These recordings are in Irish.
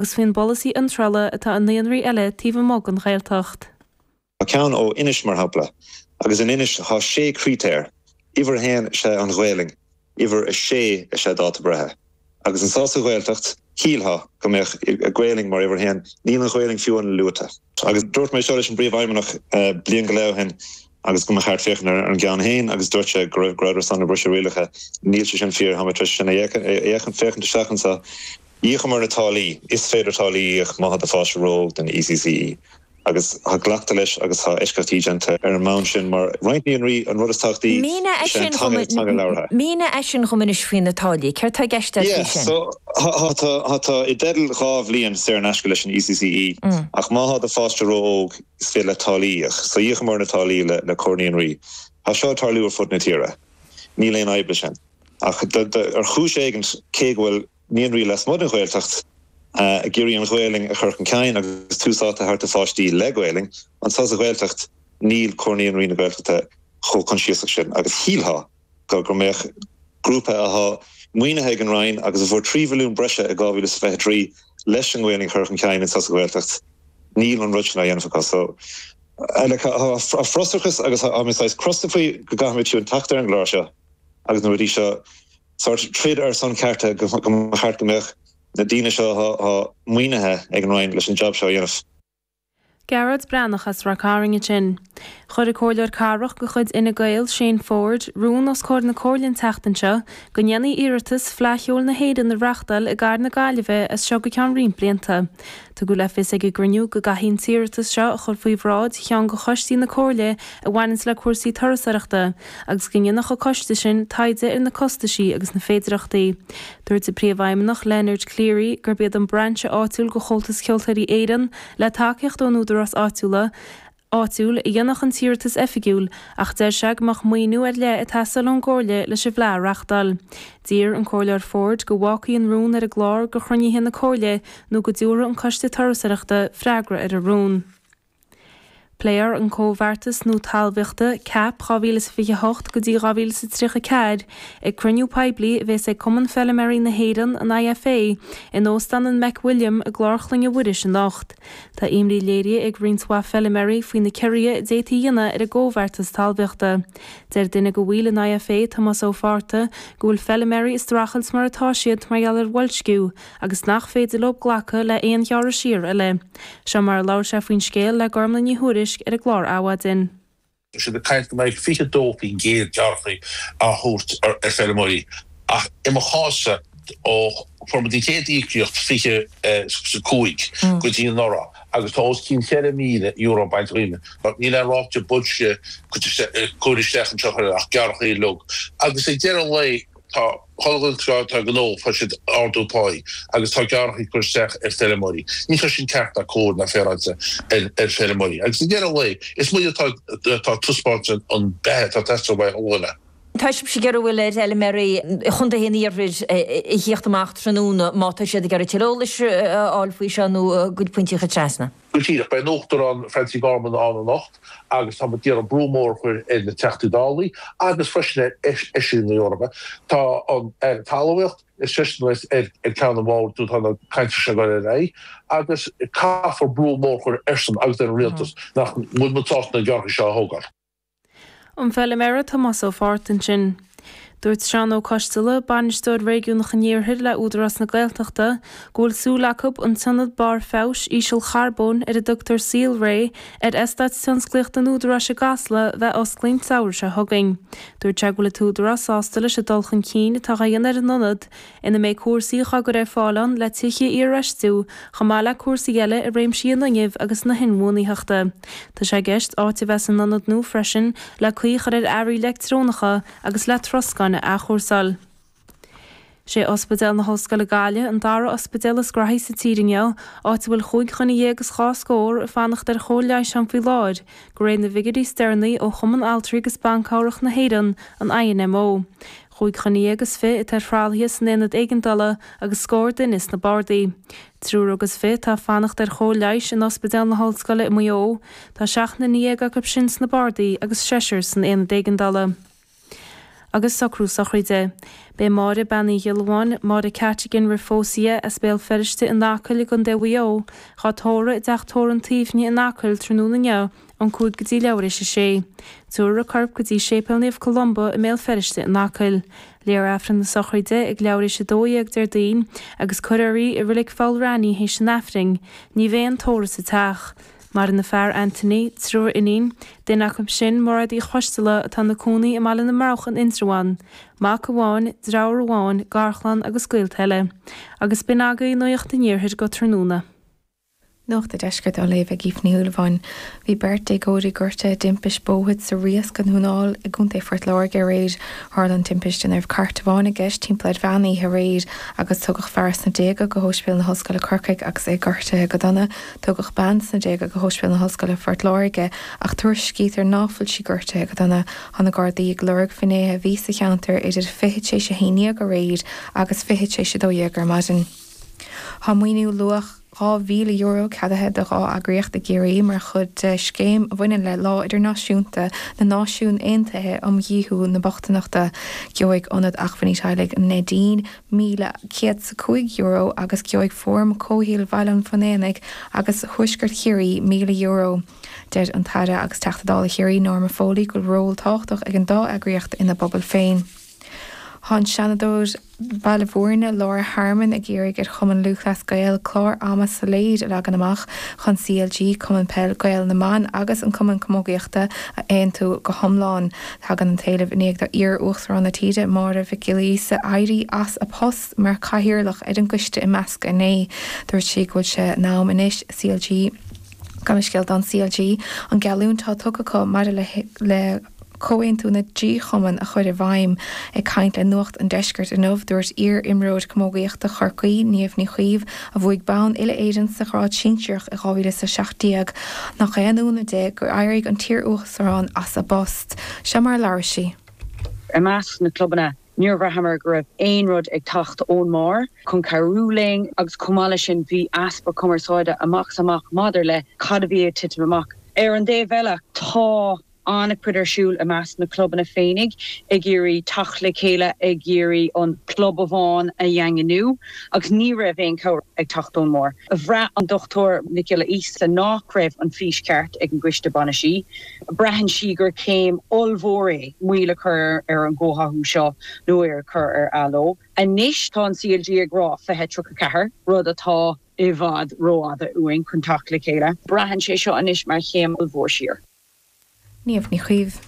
Agus faoin bpolasaí iontrála atá i naíonraí eile taobh amuigh den Ghaeltacht. Tá ceann ó Inis, mar shampla, agus in Inis thá sé critéar, uimhir a haon is ea an Ghaelainn, uimhir a sé is ea dáta breithe. Agus anso sa Ghaeltacht, shílfeá go mbeadh Gaelainn mar uimhir a haon, níl an Ghaelainn fiú amháin luaite. Agus dúirt mé seo leis an bPríomhfheidhmeannach bliain go leith ó shin agus go mba cheart féachaint ar an gceann féin agus dúirt sé go raibh go rabhadar san ag briseadh rialacha. Níl sé sin fíor, tá mé tar éis sin a fhéachaint féachaint isteach anso. Íocamar na táillí. Is féidir táillí a íoc má thá do pháiste ró-óg don ECCE. Agus thá glactha leis agus thá eisceachtaí déanta ar an mbonn sin mar roinnt naíonraí an rud is tábhachtaí Mínigh é is ea an sin dhom, teanga, teanga labhartha. mínigh é sin dhom anois faoi na táillí. Céard tá i gceist agat Yeah, faoi sin? so thá tú, thá tú i dteideal 2 bhliain saor in aisce leis an ECCE ach má thá do pháiste ró-óg is féidir leat táillí a íoc. So íocamar na táillí le le Comhar Naíonraí. Thá seo ag tarlú ar fud na tíre. Níl aon fhadhb leis sin. Ach do, do, ar chúis éigint cé go bhfuil naíonraí lasmuigh den Ghaeltacht ag iarraidh an Ghaelainn a chur chun cinn agus tús áite a thabhairt do pháistí le Gaelainn. Anso sa Ghaeltacht níl Comhar Naíonraí na Gaeltachta chomh coinsiasach sin agus shílfeá go go mbeadh grúpa athá maoinithe ag an Roinn agus a fuair 3 mhilliún breise i 2023 leis an nGaelainn a chur chun cinn anso sa Ghaeltacht, níl an rud sin á dhéanamh acu. So like tá frustrachas agus tá mé saghas crosta faoi go gcaithfimid fiú teacht ar an gclár seo agus na rudaí seo. sórt troid ar son cearta go mba cheart go mbeadh na daoine seo athá maoinithe ag an Roinn leis an jab seo a dhéanamh. Gearóid Breathnach as Ráth Cairn ansin. Chuir an Comhairleoir Cathrach de chuid Fhine Gael, Shane Forde, rún os comhair na Comhairle an tseachtain seo go ndéanfaí iarratas Fleadh Cheoil na hÉireann a reáchtáil i gcathair na Gaillimhe as seo go ceann roinnt blianta. Tugadh le fios ag an gcruinniú go gcaithfí an t-iarratas seo a chur faoi bhráid cheann de choistí na Comhairle a bhaineanns le cúrsaí turasóireachta agus go ndéanfadh an coiste sin taighde ar na costaisí agus na féidireachtaí. Dúirt an Príomhfheidhmeannach Leonard Cleary gurb iad an brainse áitiúil de Chomhaltas Ceoltóirí Éireann le tacaíocht ón údarás áitiúla áitiúil a dhéanfadh an t-iarratas oifigiúil ach deir sé go mbeadh maoiniú ar leith ag teastáil ón gComhairle leis an bhFleadh a reáchtáil. D'iarr an Comhairleoir Forde go bhfágfaí an rún ar an gclár go chruinnithe na Comhairle nó go dtabharfadh an Coiste Turasóireachta freagra ar an rún. Pléifear an Comhbheartas Nua Talmhaíochta, cap, 2028 go dtí 2034 ag cruinniú poiblí a bhéas ag Cumann Feiliméaraí na hÉireann, an IFA, in Óstán an McWilliam i gClár Chloinne Mhuiris anocht. Tá imní léirithe ag roinnt mhaith feiliméaraí faoi na ciorruithe a d'fhéadfaí a dhéanamh ar an gcomhbheartas talmhaíochta. Deir duine de bhaill an IFA, Tomás Ó Fátharta, go bhfuil feiliméaraí ag streachailt mar atá siad mar gheall ar bhoilsciú agus nach féidir leo glacadh le haon ghearradh siar eile. Seo mar a labhair sé faoin scéal le Gormlaith Ní Thuairisg ar an gclár Adhmhaidin. Tá siad ag caint go mbeidh 22% gearrthacha á thabhairt ar feirmeoirí ach i mo chás-sa ó fuair muid an chéad íocaíocht 25 go dtí anuraidh agus tá os cionn €4,000 bainte dhíom. Níl aon ráta boilscithe curtha isteach anseo ach gearrthacha uilig agus ag deireadh an lae Tá chuile dhuine atá ag gnó, fuair siad ardú páí agus tá gearrthacha curtha isteach ar feirmeoirí. Ní hé sin ceart ná cóir ná féaráilte ar feirmeoirí. Agus ag deireadh an lae, is muid atá atá ag taispeáint an beatha atá ag teastáil uaidh chuile dhuine. Tá sibhse ag iarraidh bhfuil ar fheilméaraí chontaetha an iarthair a thíocht amach tráthnóna má tá siad ag iarraidh tuilleadh eolais a fháil faoi seo nó a gcuid pointí a chur trasna. Go díreach. Beidh an Uachtarán Francie Gorman ann anocht agus tá muid ag iarraidh brú mór a chur ar na Teachtaí Dálaí agus freisin ar Fheisirí na hEorpa. Tá an Aire Talmhaíocht, is seisean a bheas ar ceann an bhoird nuair atá na cainteanna seo ag dul ar aghaidh agus caithfear brú mór a chur airsean agus ar an Rialtas nach bhfuil muid sásta na gearrthacha seo a thógáil. An feiliméara Tomás Ó Fátharta ansin. Dúirt Seán Ó Coisteala, Bainisteoir Réigiúnach an Iarthair le Údarás na Gaeltachta, go bhfuil súil acu an t-ionad barr feabhais ísealcharbóin ar a dtugtar Saolré ar Eastát Tionsclaíochta an Údaráis i gCasla bheith osclaithe an tsamhradh seo chugainn. Dúirt sé go bhfuil an tÚdarás sásta leis an dul chun cinn atá á dhéanamh ar an ionad ina mbeidh cúrsaí á gcur ar fáil ann le tithe a iarfheistiú, chomh maith le cúrsaí eile i réimsí an fhuinnimh agus na hinbhuanaitheachta. Tá sé i gceist áit a bheith san ionad nua freisin le caoi a chur ar earraí leictreonacha agus le troscáin a athchúrsáil. Sé Ospidéal na hOllscoile Gaillimh an dara ospidéal is graithí sa tír inniu, áit a bhfuil chúig dhuine dhéag is dhá scór ag fanacht ar chóir leighis ann faoi láthair, de réir na bhfigiúirí is deireanaí ó Chumann Altraí agus Ban Cabhrach na hÉireann, an INMO. 25 atá ar thralaithe san aonad éigeandála agus scór duine sna bardaí. Triúr agus fiche atá ag fanacht ar chóir leighis in Ospidéal na hOllscoile i Maigh Eo. Tá 17 nduine acu sin sna bardaí agus seisear san aonad éigeandála. agus socrú sochraide. Beidh Máire Bean Uí Ghiollamháin, Máire Cattigan roimh phósadh di, as Béal Feirste in Acaill i gContae Mhaigh Eo, dhá tórramh i dTeach Tórraimh an tSuaimhne in Acaill tráthnóna inniu ón 5 go dtí leathuair éis a sé. Tabharfar a corp go dtí Séipéal Naomh Columba i mBéal Feirste in Acaill. Léifear Aifreann na sochraide ag leathuair éis 12 Déardaoin agus cuirfear í i Reilig Pholl Raithní théis an Aifrinn. Ní bheidh aon tórramh sa teach. Maireann a fear Anthony, triúr iníon, duine acu sin Mairéad Uí Choisteala atá ina cónaí i mBaile na mBroghach in Indreabhán, mac amháin, deartháir amháin, garchlann agus gaolta eile. Agus b'in agaibh Nuacht an Iarthair go tráthnóna. Nuacht an Deiscirt á léamh ag Aoife Ní Shúilleabháin. Bhí beirt déagóirí gortaithe i dtimpist bóthair sa Riasc i nDún na nGall i gContae Phort Láirge aréir. Tharla an timpist ina raibh cairt amháin i gceist timpeall ar mheán oíche aréir agus tugadh fear sna déaga go hOspidéal na hOllscoile Corcaigh agus é gortaithe go dona. Tugadh bean sna déaga go hOspidéal na hOllscoile Phort Láirge ach tuairiscítear ná fuil sí gortaithe go dona. Tá na Gardaí ag lorg finnéithe a bhí sa cheantar idir 11:40 aréir agus 11:40 ar maidin. Tá maoiniú luach €2,000 ceadaithe do dhá eagraíocht i gCiarraí mar chuid de scéim a bhaineann le Lá Idirnáisiúnta na Náisiún Aontaithe um Dhíothú na Bochtaineachta. Gheobhaidh Ionad Acmhainní Teaghlaigh Neidín €1,105 agus gheobhaidh Fóram Comhshaoil Bhaile an Bhunaonaigh agus Thuaisceart Chiarraí €1,000. Deir an tAire agus Teachta Dála Chiarraí Norma Foley go bhfuil ról tábhachtach ag an dá eagraíocht ina bpobail féin. Tá an Seanadóir Bhaile Bhúirne, Laura Harmon, ag iarraidh ar Chumann Lúthchleas Gael clár ama soiléir a leagan amach chun CLG, Cumann Peil Gael na mBan agus an Cumann Camógaíochta a aontú go hiomlán. Tagann an t-éileamh i ndiaidh do iar-Uachtarán na tíre, Máire Mhic Giolla Íosa, éirí as a post mar chathaoirleach ar an gcoiste imeasctha inné. Dúirt sí go bhfuil sé in am anois CLG Gabh mo leithscéal don CLG an geallúint atá tugtha acu maidir le comhaontú na dtrí chumann a chur i bhfeidhm. Ag caint le Nuacht an Deiscirt inniu, dúirt iar-imreoir camógaíochta Chorcaí, Niamh Ní Chaoimh, a bhuaigh bonn uile-Éireann sa ghrád sinsearach i 2017, nach aon ionadh di gur éirigh an t-iar-uachtarán as a post. Seo mar a labhair sí. I measc na clubanna Níor bhraitheamar go raibh aon rud ag teacht ón mbarr chun cabhrú linn agus chomh maith leis sin bhí easpa cumarsáide amach is amach maidir le cad a bhí ag titim amach. Ar an dtaobh eile tá an-chuid ar siúl i measc na clubanna féinig ag iarraidh teacht le chéile, ag iarraidh an club amháin a dhaingniú agus ní raibh aon chabhair ag teacht ón mbarr. Bhraith an Dr Nic Giolla Íosa nach raibh an fís ceart ag an gcoiste bainisí. Braitheann sí gur céim ollmhór é moill a chur ar an gcomhtháthú seo nó é a chur ar athló. Anois tá an CLG ag rá 2034, rud atá i bhfad rófhada uainn chun teacht le chéile. Braitheann sé seo anois mar chéim ollmhór siar. Niamh Ní Chaoimh.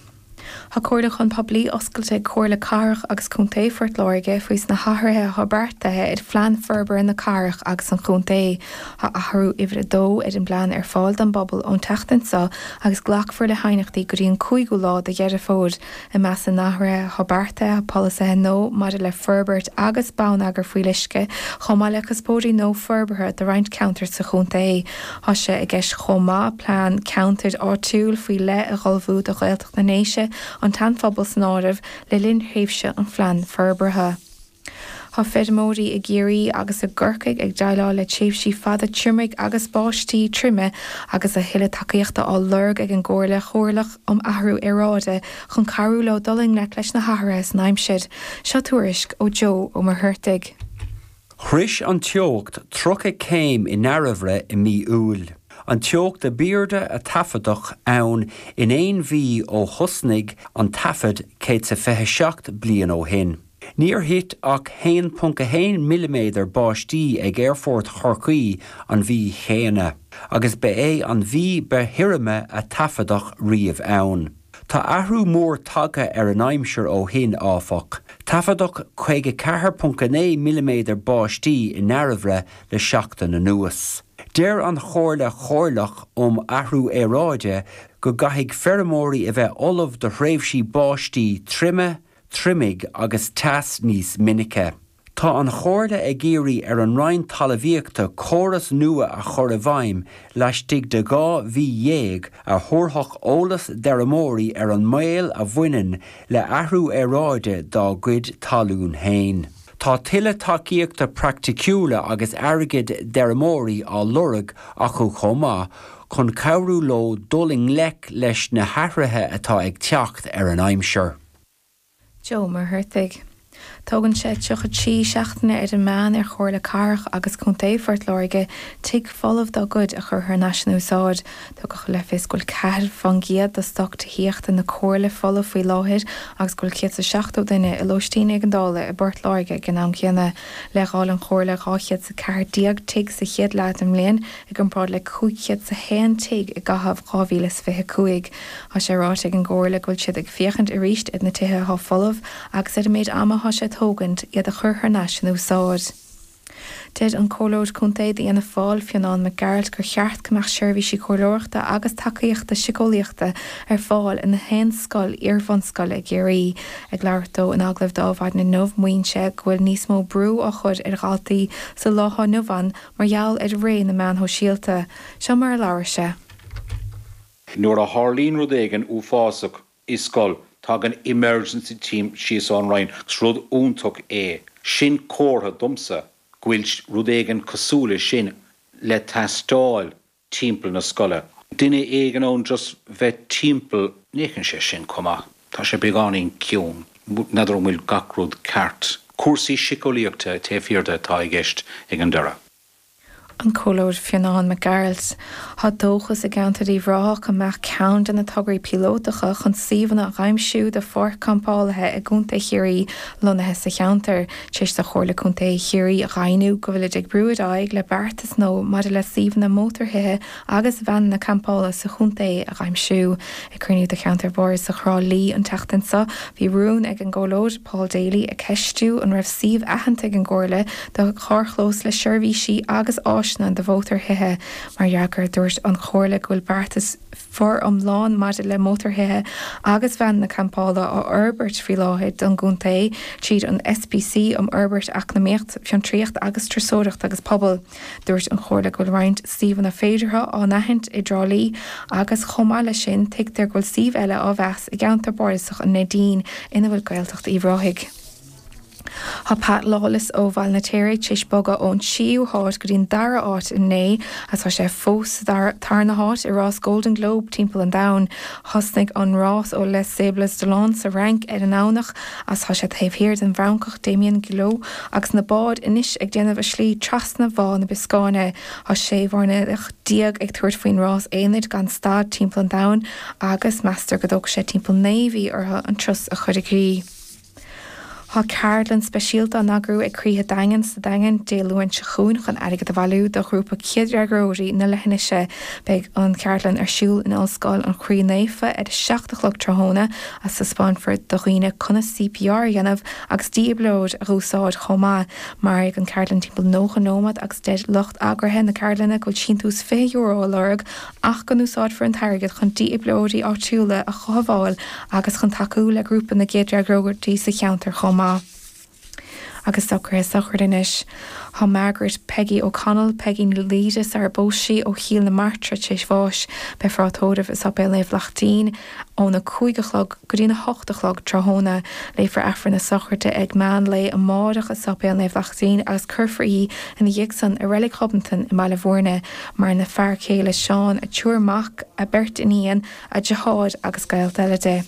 Tá comhairliúchán poiblí oscailte ag Comhairle Cathrach agus Contae Phort Láirge faoi na hathruithe atá beartaithe ar Phlean Forbartha na Cathrach agus an Chontae. Tá athrú uimhir 2 ar an bplean ar fáil don bpobal ón tseachtain seo agus glacfar le haighneachtaí go dtí an 5ú lá de Dheireadh Fómhair. I measc na n-athruithe atá beartaithe tá polasaithe nua maidir le forbairt agus bonneagar fuíolluisce, chomh maith le cuspóirí nua forbartha do roinnt ceantar sa chontae. Tá sé i gceist chomh maith plean ceantair áitiúil faoi leith a ullmhú do Ghaeltacht na nDéise, an tSean-Phobal san áireamh, le linn thréimhse an phlean forbartha. Tá feirmeoirí i gCiarraí agus i gCorcaigh ag déileáil le tréimhsí fada triomaigh agus báistí troime agus a thuilleadh tacaíochta á lorg ag an gComhairle Chomhairleach um Athrú Aeráide chun cabhrú leo dul i ngleic leis na hathruithe san aimsir. Seo tuairisc ó Joe Ó Muircheartaigh. Shrois an teocht 30 céim i nDairbhre i mí Iúil, an teocht ab airde a taifeadadh ann in aon mhí ó thosnaigh an taifead 127 bliain ó shin. Níor thit ach 1.1 milliméadar báistí ag Aerfort Chorcaí an mhí chéanna, agus ba é an mhí ba thirime a taifeadadh riamh ann. Tá athrú mór tagtha ar an aimsir ó shin, áfach. Taifeadadh 54.9 milliméadar báistí i nDairbhre le seachtain anuas. Deir an Chomhairle Chomhairleach um Athrú Aeráide go gcaithfidh feirmeoirí a bheith ullamh do thréimhsí báistí troime, triomaigh agus teas níos minice. Tá an Chomhairle ag iarraidh ar an Roinn Talmhaíochta córas nua a chur i bhfeidhm laistigh de 12 mhí a thabharfadh eolas d'fheirmeoirí ar an mbaol a bhaineann le athrú aeráide dá gcuid talún féin. Tá tuilleadh tacaíochta praiticiúla agus airgid d'fheirmeoirí á lorg acu chomh maith chun cabhrú leo dul i ngleic leis na hathruithe atá ag teacht ar an aimsir. Joe Ó Muircheartaigh. Tógann sé 33 seachtaine ar an meán ar Chomhairle Cathrach agus Contae Phort Láirge tigh folamh dá gcuid a chur thar n-ais in úsáid. Tugadh le fios go bhfuil 4% de stoc tithíochta na Comhairle folamh faoi láthair agus go bhfuil 170 duine i lóistín éigeandála i bPort Láirge ag an am céanna. Leithdháil an Chomhairle 214 tigh sa chéad leath den mbliain i gcomparáid le 501 tigh i gcaitheamh 2025. Tá sé ráite ag an gComhairle go bhfuil siad ag féachaint arís ar na tithe atá folamh agus ar an méid ama atá sé ag tógaint iad a chur thar n-ais in úsáid. Deir an Comhairleoir Contae d'Fhianna Fáil, Fionán Mac Gearailt, gur cheart go mbeadh seirbhísí comhairleoireachta agus tacaíochta siceolaíochta ar fáil i ngach aon scoil iar-bhunscoile i gCiarraí. Ag labhairt dó in agallamh d'Adhmhaidin inniu, maíonn sé go bhfuil níos mó brú á chur ar dhaltaí sa lá atá inniu ann Mar gheall ar ré na meán shóisialta. Seo mar a labhair sé. Nuair a tharlaíonn rud éigin uafásach i scoil, tagann emergency team síos ón Roinn agus rud iontach é. Sin comhartha domsa go bhfuil rud éigin cosúil le sin le teastáil timpeall na scoile. Duine éigin ann just bheith timpeall. Ní fhéachann sé sin chomh maith. Tá sé beagáinín ciúin. N'fheadar an bhfuil gach rud ceart. Cúrsaí síceolaíochta taobh thiar de atá i gceist ag an deireadh. An Comhairleoir Fionán Mac Gearailt. Tá dóchas i gceantar Uíbh Ráthach go mbeadh ceann de na tograí píolótacha chun suíomhanna a aimsiú do pháirc campálaithe i gContae Chiarraí lonnaithe sa cheantar. Tar éis do Chomhairle Contae Chiarraí a dheimhniú go bhfuilid ag brú ar aghaidh le beartas nua maidir le suíomhanna mótarthithe agus veaineanna campála sa chontae a aimsiú. Ag cruinniú de Cheantar Bardasach Thrá Lí an tseachtain seo, bhí rún ag an gComhairleoir Paul Daly ag ceistiú an raibh suíomh aitheanta ag an gComhairle do charrchlós le seirbhísí agus áiseanna do mhótarthithe. Mar fhreagra, dúirt an Chomhairle go bhfuil beartas foriomlán maidir le mótarthithe agus veaineanna campála á fhorbairt faoi láthair don gcontae tríd an SPC um Fhorbairt Eacnamaíocht, Fiontraíocht agus Turasóireacht agus Pobal. Dúirt an Chomhairle go bhfuil roinnt suíomhanna féideartha á n-aithint i dTrá Lí agus chomh maith leis sin tuigtear go bhfuil suíomh eile á mheas i gceantar bardasach an Neidín ina bhfuil Gaeltacht Uíbh Ráthaigh. Tá Pat Lawless ó Bhaile na Téiré tar éis bogadh ón tríú háit go dtí an dara háit inné agus tá sé fós sa tarna háit i rás Golden Globe timpeall an domhain. Thosnaigh an rás ó Les Sables d'Olonne sa Fhrainc ar an nDomhnach agus tá sé taobh thiar den bhFrancach Damien Guillot agus na báid anois ag déanamh a slí trasna Bhá na Bioscáine. Tá 16 mhuirnéalach ag tabhairt faoin rás aonair gan stad timpeall an domhain agus meastar go dtógfaidh sé timpeall 9 mhí orthu an turas a chur i gcrích. Tá ceardlann speisialta á n-eagrú ag Croíthe Daingean sa Daingean Dé Luain seo chugainn chun airgead a bhailiú do ghrúpa céadfhreagróirí na leithinise. Beidh an cheardlann ar siúl in Ollscoil an Chroí Naofa ar a 7 a chlog tráthnóna agus taispeánfar do dhaoine conas CPR a dhéanamh agus dífhibrileoir a dh'úsáid chomh maith. Mairfidh an cheardlann timpeall 90 nóiméad agus deir lucht eagraithe na ceardlainne go bhfuil síntiús €20 á lorg ach go n-úsáidfear an t-airgead chun dífhibrileoirí áitiúla a chothabháil agus chun tacú le grúpa na gcéadfhreagróirí sa cheantar chomh maith. Agus socruithe sochraide anois. Tá Margaret Peggy O'Connell, Peigí Ní Laoire sar a bpós sí, ó Chill na Martra tar éis bháis. Beifear á tórramh i Sáipéal Naomh Lachtaín óna 5 a chlog go dtína 8 a chlog tráthnóna. Léifear Aifreann na sochraide ag meán lae amárach i Sáipéal Naomh Lachtaín agus cuirfear í ina dhiaidh san i Reilig Ghobnatan i mBaile Bhúirne. Maireann a fear céile Seán, a triúr mac, a beirt iníon, a deartháir agus gaolta eile di.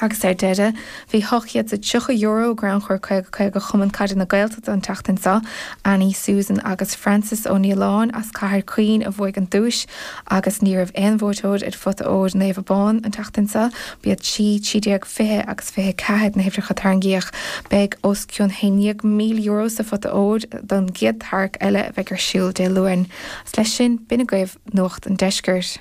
Agus ar deireadh, bhí €830 i gcrannchur 50 50 Chumann Caide na Gaeltachta an tseachtain seo. Annie, Susan agus Frances Ó Nialláin as Cathair Caoin a bhuaigh an duais agus ní raibh aon bhuaiteoir ar phota óir Naomh Abán an tseachtain seo. B'iad 3, 13, 20 agus 24 na huimhreacha a tarraingíodh. Beidh os cionn €11,000 sa phota óir don gcéad tarrac eile a bheidh ar siúl Dé Luain. Agus leis sin, b'in agaibh Nuacht an Deiscirt.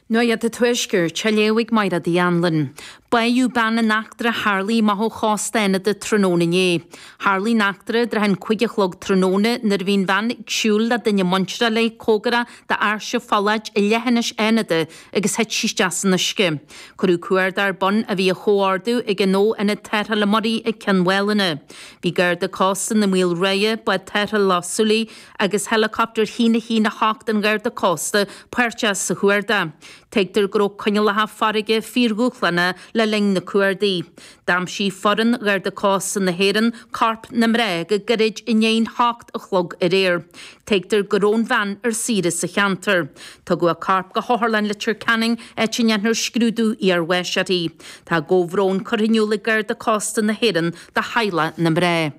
Nuacht an Tuaiscirt, á léamh ag Mairéad Uí Anluain. Báitheadh bean in eachtra a tharlaigh amach ó chósta Fhánada tráthnóna inné. Tharlaigh an eachtra i dtrátha an 5 a chlog tráthnóna nuair a bhí an bhean ag siúl le duine muinteartha léi cóngarach d'áirse Pholláid i leithinis Fhánada agus thit sí isteach san uisce. Cuireadh cuardach ar bun a bhí á chomhordú ag an Fho-Ionad Tarrthála Muirí ag Ceann Mhálanna. Bhí Garda Cósta na Maoilrátha, Bád Tarrthála Loch Súilí agus Helicopter 1 1 8 an Gharda Cósta páirteach sa chuardach. Tuigtear go raibh coinníollacha farraige fíordhúshlánach le. le linn na cuardaigh. D'aimsigh foireann Gharda Cósta na hÉireann corp na mná go gairid i ndiaidh an hocht a chlog aréir. Tuigtear go raibh an bhean ar saoire sa cheantar. Tugadh a corp go hOtharlann Leitir Ceanainn áit a ndéanfar scrúdú iarbháis uirthi. Tá comhbhrón curtha in iúl ag Garda Cósta na hÉireann do theaghlach na mná.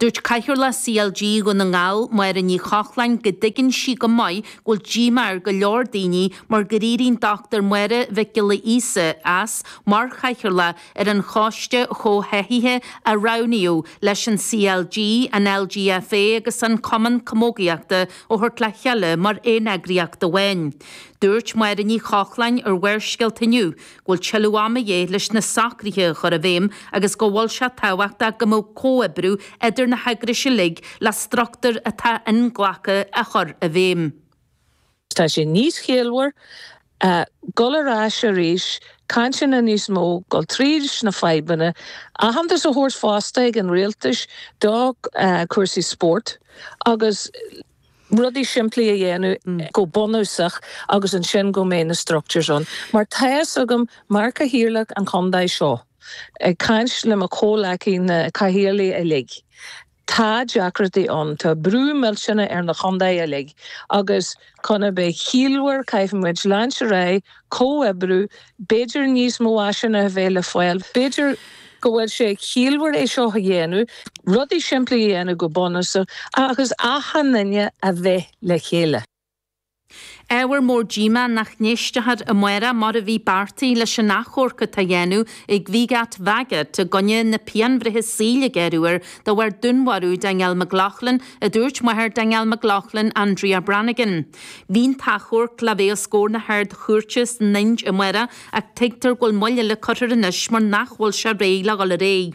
Dúirt Cathaoirleach CLG Dhún na nGall, Máire Ní Chochláin, go dtuigeann sí go maith go bhfuil díomá ar go leor daoine mar gur éirigh an Dr Máire Mhic Giolla Íosa as mar chathaoirleach ar an choiste chomhtháthaithe a roghnaíodh leis an CLG, an LGFA agus an Cumann Camógaíochta a thabhairt le chéile mar aon eagraíocht amháin. Dúirt Máire Ní Chochláin ar Bharrscéalta inniu go bhfuil tuilleadh ama de dhíth leis na socruithe a chur i bhfeidhm agus go bhfuil sé tábhachtach go mbeadh comhoibriú idir na heagrais uilig le struchtúr atá inghlactha a chur i bhfeidhm. Tá sé níos ciallmhar dul ar ais arís, cainteanna níos mó, dul tríd na fadhbanna, aitheantas a thabhairt fosta ag an rialtais do chúrsaí spóirt agus rudaí simplí a dhéanamh go bunúsach agus ansin go mbeidh na structures ann. Mar tá fhios agam, mar Chathaoirleach an chontae seo, ag caint le mo chomhleacaí na cathaoirligh uilig, tá deacrachtaí ann, tá brú millteanach ar na chontae uilig agus chun a bheith ciallmhar caithfidh muid leanúint ar aghaidh, comhoibriú, b'fhéidir níos mó áiseanna a bheith le fáil, b'fhéidir go bhfuil sé ciallmhar é seo a dhéanamh, rudaí simplí a dhéanamh go bunúsach agus achan duine a bheith le chéile. Ábhar mór díomá nach n-éisteofar amárach mar a bhí beartaithe leis an achomharc atá á dhéanamh ag Wigat Wagat i gcoinne na pianbhreithe saoil a gearradh air de bharr dúnmharú Danielle McLaughlin, a dúirt máthair Danielle McLaughlin, Andrea Brannigan. Bhí an t-achomharc le bheith os comhair na hArd-Chúirte san Ind amárach ach tuigtear go bhfuil moill eile curtha air anois mar nach bhfuil sé réidh le dhul ar aghaidh.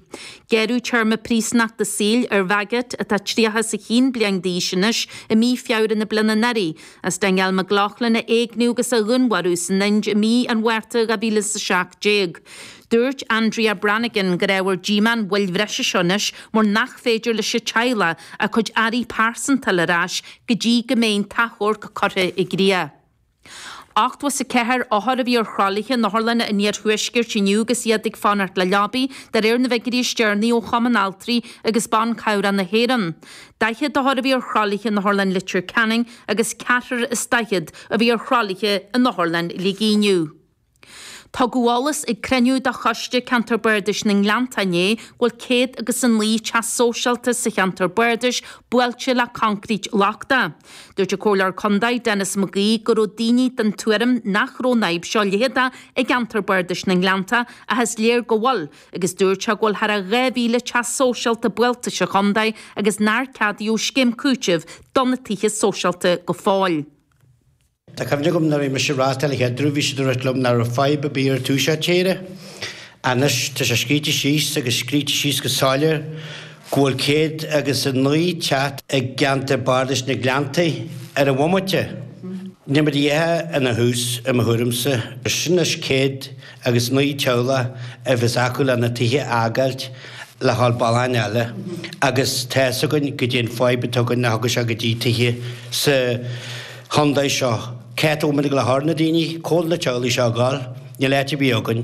Gearradh téarma príosúnachta saoil ar Wagat, atá 31 bliain d'aois anois, i mí Feabhra na bliana anuraidh, as Danielle McLaughlin a éigniú agus a dhúnmharú san Ind i mí an Mhárta 2017. Dúirt Andrea Brannigan gur ábhar díomá an mhoill bhreise seo anois mar nach féidir leis an teaghlach a cuid earraí pearsanta a fháil ar ais go dtí go mbeidh an t-achomharc curtha i gcrích. 84 othar a bhí ar thralaithe in otharlanna an iarthuaiscirt inniu agus iad ag fanacht le leabaí, de réir na bhfigiúirí is deireanaí ó Chumann Altraí agus Ban Cabhrach na hÉireann. 40 othar a bhí ar thralaithe in Otharlann Leitir Ceanainn agus ceathrar is daichead a bhí ar thralaithe in Otharlann Shligigh inniu. Tugadh eolas ag cruinniú de Choiste Ceantar Bardais na nGleanntach inné go bhfuil céad agus a naoi teach sóisialta sa cheantar bardais buailte le coincréit lochtach. Dúirt an Comhairleoir Contae Denis McGee go raibh daoine den tuairim nach raibh an fhadhb seo leitheadach i gceantar bardais na nGleanntach ach is léir go bhfuil agus dúirt sé go bhfuil thar a 2,000 teach sóisialta buailte sa chontae agus nár ceadaíodh scéim cúitimh do na tithe sóisialta go fóill. Tá cuimhne agam nuair a bhí mise ag reáchtáil an chéad uair bhí siad ag rá liom nach raibh fadhb ar bith ar tuaisceart tíre. Anois tá sé scríte síos agus scríte síos go soiléir go bhfuil 109 teach i gceantar bardais na Gleanntaí ar an bhomaite. Níl muid a dhath ina thús i mo thuairimse. Sin anois 109 teaghlach a bheas acu lena tithe a fhágáilt le dhul bealach eile agus tá fhios againn goidé an fadhb atá againn nach dtiocfaidh sé go dtí tithe sa chontae seo. Cá bhfuil muid ag dul a chur na daoine? Cá bhfuil na teaghlaigh seo ag dul? Níl áit ar bith againn.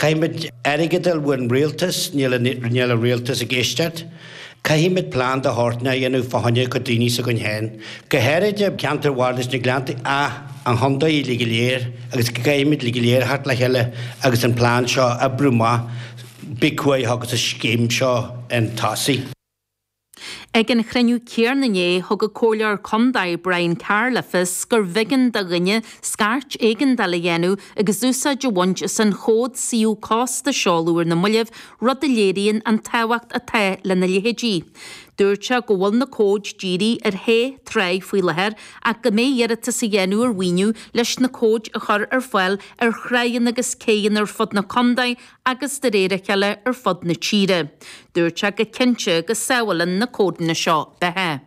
Caithfimid airgead a fháil ón rialtas, níl níl an rialtas ag éisteacht. Caithfimid plean de shórt a dhéanamh fá choinne cuid daoine s'againn féin. Go háirid i gceantar Bhardais na Gleanntaí ach an chontae uilig go léir agus go gcaithfimid uilig go léir a theacht le chéile agus an plean seo a oibriú amach. Big cumhaidh agus an scéim seo chun tosaigh. Ag an chruinniú céanna inné, thug an Comhairleoir Contae Brian Carr le fios gur bh'éigean do dhuine scairt éigeandála a dhéanamh agus úsáid a bhaint as an chód suíomh cósta a seoladh ar na mallaibh, rud a léiríonn an tábhacht atá lena leithéidí. Dúirt sé go bhfuil na cóid dírithe ar shé tráigh faoi láthair ach go mbeidh iarratas á dhéanamh ar mhaoiniú leis na cóid a chur ar fáil ar thráigheanna agus céidheanna ar fud na contae agus de réir a chéile ar fud na tíre. Dúirt sé go cinnte go sábhálann na códanna seo beatha.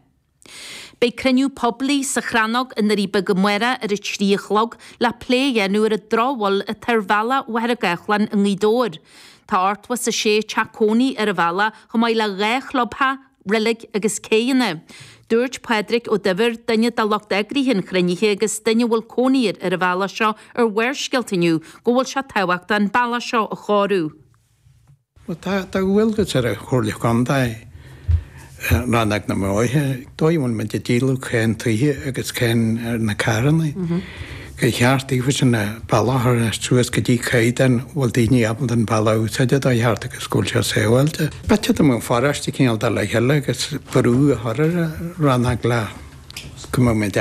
Beidh cruinniú poiblí sa Chrannóg i nDoirí Beaga amárach ar a 3 a chlog le plé a dhéanamh ar an drochbhail atá ar bhealach Mhachaire Gathlán i nGaoth Dobhair. Tá 86 teach cónaí ar an bhealach chomh maith le 2 chlubtheach. Reilig agus céidheanna. Dúirt Pádraig Ó Duibhir, duine de lucht eagraithe an chruinnithe agus duine a bhfuil cónaí air ar an bhealach seo ar Bharrscéalta inniu, go bhfuil sé tábhachtach an bealach seo a chóiriú. Bhuel, tá dualgas ar an Chomhairle Contae, Rannóg na mBóithre, dóigh a bhfuil muid ag díol cáin tithe agus cáin ar na carranna. Gur cheart daofa an bealach a chur suas go dtí caighdeán a bhfuil daoine ábalta an bealach a úsáid dá cheart agus go bhfuil sé sábháilte. B'fhéidir dá mbeadh an pharóiste cineál dul le chéile agus brú a chur ar an rannóg le go mbeadh muid.